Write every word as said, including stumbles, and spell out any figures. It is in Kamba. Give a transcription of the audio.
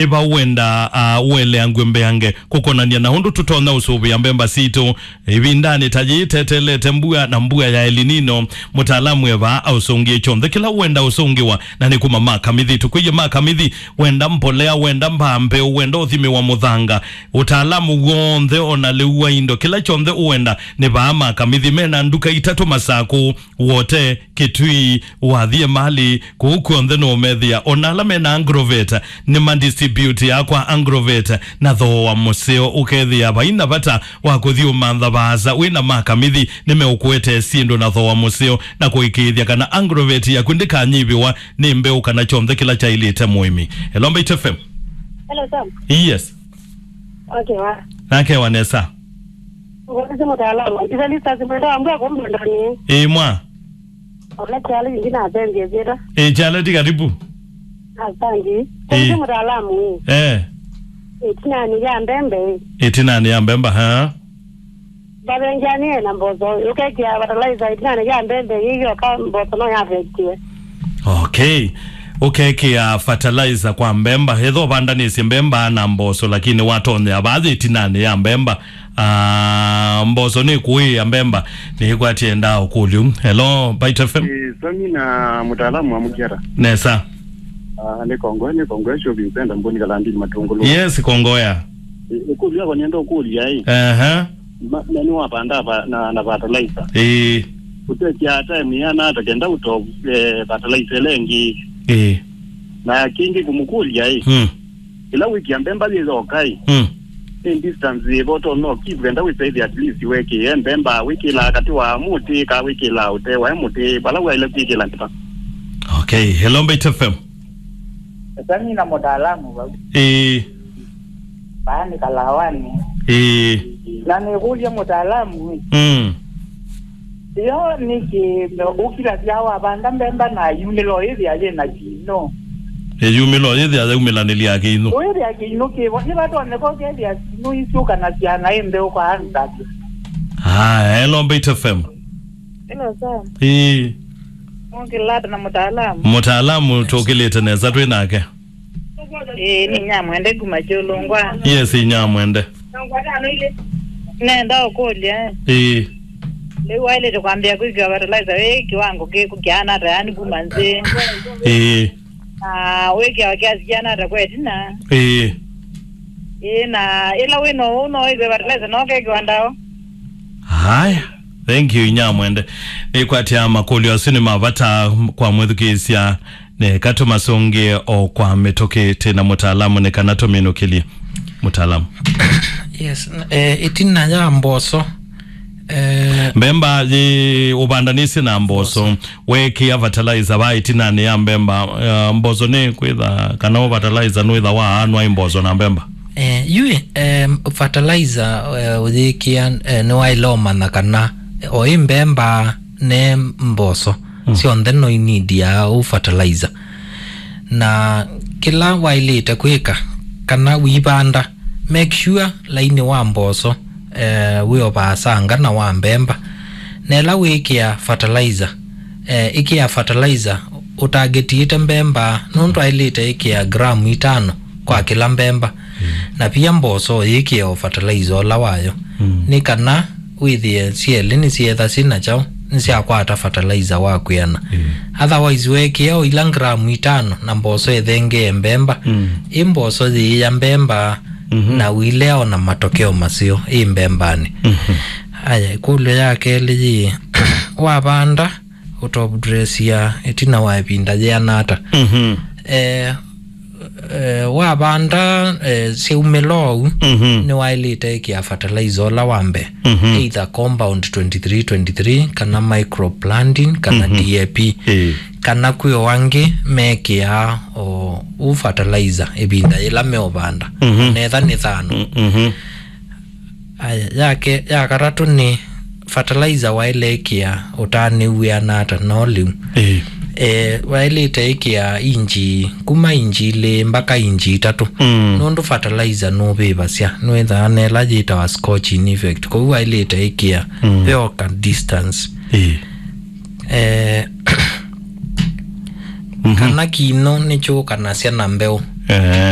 Ĩva wenda, ah, ũeleangw'e mbeange kũkonany'a na ũndũ tũtonya ũsũvĩa mbemba sitũ ĩvindanĩ ta yĩĩ tetelete mbua na mbua ya El Nino? Mũtaalamu eva aũsũngĩe kyonthe kĩla wenda ũsũngĩwa, na nĩ kuma ma Kamithi. Tũkwĩie ma Kamithi, wenda mbolea, wenda mbaa mbeũ, wenda ũthimĩwa mũthanga, ũtaalamu w'onthe, ona lĩu wa indo, kĩla kyonthe ũenda, nĩ vaa ma Kamithi. Mena nduka itatũ Masakũ, Wote, Kitui, wathi Emali, kũu kw'onthe nũũmethĩa. Ona ala mena Agrovet nĩ ma distribute ya kwa Agrovet na thooa mũseo, ũkethĩa vai na vata wa kũthi ũmantha vaasa wĩ na ma Kamithi. Nĩmeũkũetee syĩndũ na thooa mũseo na kũĩkĩĩthya kana Agrovet yaku ndĩkanyivĩwa nĩ mbeũ kana kyonthe kĩla kyaĩlĩte mũĩmi. Hello, Mbaitu F M. Hello, Sam. Yes. Okay, wa. Nakewa nesa. Ũkũlĩsye mũtaalamu. Ĩsa lista simwenda wambua kũmbondoni. Ĩĩ, mwa. Ona kyalo ĩngĩ na athembie vyĩta. Ĩĩ, kyalo ti karibu. Asangi. Ĩĩ. Kũlĩsye mũtaalamu. Eh. Ĩtinanĩ ya mbembe. Ĩtinanĩ ya mbemba, ha? Mbavengyanie na mboso. Ũkekĩa fertilizer ĩtinanĩ ya mbembe, yĩyoka mboso no yavektie. Okay. Ũkekĩa fertilizer kwa mbemba. Ethwa ũvandanĩsye mbemba na mboso, lakini watonyea vathi ĩtinanĩ ya mbemba. Ah, mboso nĩ kũĩ ya mbemba, nĩ ĩkwatye ndaa ũkũlyo. Hello, Mbaitu F M. Eh, Sami na mũtaalamu wa mũkiata. Nesa. Ah, nĩ Kongoe, nĩ Kongoe shopping center, Mboni Kalandini Matungulu. Yes, Kongoya. Eh, ũkũlyo wako nĩenda ũkũlya, eh. Aha. Ma, na nĩ wapanda pa, na, na fertilizer. Eh. Ũtekĩa time yana ata kenda ũto, eh, fertilizer ĩla ĩngĩ. Eh. Na kĩngĩ kũmũkũlya, eh. Hmm. Ĩla wĩkĩa mbemba yĩyoka ĩ, Mm. nĩ distance yĩva ũtonya ũkĩvwenda wĩsaĩthya at least wekĩe mbemba wĩkĩlaa katĩ wa mũtĩ, kaa wĩkĩlaa ũtee wa mũtĩ, vala waĩle kwĩkĩla nĩva? Okay, hello, Mbaitu F M. Sami na mũtaalamu vau. Ĩĩ. Vaa nĩ Kalawani. Ĩĩ. Na nĩkũlya mũtaalamu ĩ. Mm. Yo nĩkĩ ũkilasya wavanda mbemba na yumĩla ũyĩthĩa yĩ na kĩinũ? Ĩ, yumĩla ũyĩthĩa yaumĩlanĩlya kĩinũ. Ũyĩthĩa kĩinũ kĩvo, nĩvatonyeka ũkethĩa kĩinũ isyũkanasya na ĩ mbeũ kwa ansatĩ. Aya, hello, Mbaitu F M. Hello, Sam. Ĩĩ. Mũkĩlata na mũtaalamu. Mũtaalamu tũkĩlĩte nesa twĩ nake. Ĩĩ, nĩ Nyamwende kuma Kyũlũngwa. Yes, Nyamwende. Nenda ũkũlya. Ĩĩ. Rĩu waĩlĩte kwambĩa kwĩkĩa fertilizer wĩ kĩwango kĩkũ kĩana ata, yani kuma nzĩ? Ĩĩ. Na wĩkĩawa kiasi kĩana ata kwa ĩtina? Ĩĩ. Ĩĩ, na ĩla wĩ no ũu no wĩkĩwe fertilizer no ũkekĩwa ndawa? Haya. Thank you, Nyamwende. Nĩkwatya makũlyo asu nĩ ma vata kwa mwĩthukĩĩsya. Nĩka tũmasũngĩe o kwa mĩtũkĩ, twĩ na mũtaalamu nĩ kana tũminũkĩlye. Mũtaalamu. Yes, n-, eh, ĩtina ya mboso, eh, mbemba yĩ ũvandanĩsye na mboso, wekĩa fertilizer va ĩtinanĩ ya mbemba, eh, mboso nĩ kwĩtha kana ũ fertilizer nũĩtha waanwa ĩ mboso na mbemba? Eh, yu, eh, fertilizer, eh, ũyĩkĩa, eh, nĩwaĩle ũmanya kana, eh, o ĩ mbemba ne mboso, mm, syonthe no inidia ũ fertilizer. Na kĩla waĩlĩte kwĩka kana wĩvanda, make sure lainĩ wa mboso, eh, wĩ o vaasanga na wa mbemba. Na ĩla wĩkĩa fertilizer, eh, ĩkĩa fertilizer ũtagetiĩte mbemba, nũndũ aĩlĩte ĩkĩa gramu itano kwa kĩla mbemba. Mm. Na pia mboso yĩkĩe o fertilizer ũla wayo. Mm. Nĩ kana wĩthĩe syelĩ nĩsyetha syĩ na kyaũ, nĩsyakwata fertilizer wa kwĩana. Mm. Otherwise, wekĩa o ila gramu itano na mboso ĩthengee mbemba, mm, ĩ mboso yĩĩa mbemba, mhm, na ũilea o na matokeo maseo ĩ mbembanĩ. Mhm. Aya, ĩkũlyo ya kelĩ yĩ, wavanda, ũtopdressia ĩtina wa ĩvinda yĩana ata? Mhm. Eh, eh, wavanda, eh, syaumĩla ũu, mhm, nĩwaĩlĩte ĩkĩa fertilizer ũla wa mbee, mhm, either compound twenty-three twenty-three, kana microplantin, kana, mhm, D A P. Ĩĩ. Kana kwĩ o angĩ mekĩaa o ũ fertilizer ĩvinda yĩla meũvanda, mhm, netha nĩ thano. Mm, mhm. Aya, yake, ya katatũ nĩ fertilizer waĩle ĩkĩa ũtanĩw'ĩana ata no lĩu. Ĩĩ. Eh, waĩlĩte ĩkĩa inji, kuma inji ilĩ mbaka inji itatũ. Mm. Nũndũ fertilizer nũvĩvasya, nĩwĩthaa na ĩla yĩtawa scorching effect. Kwoou waĩlĩte ĩkĩa, mm, ve o ka distance. Ĩĩ. Eh, mhm, kana kĩinũ nĩkyũkanasya na mbeũ. Eh.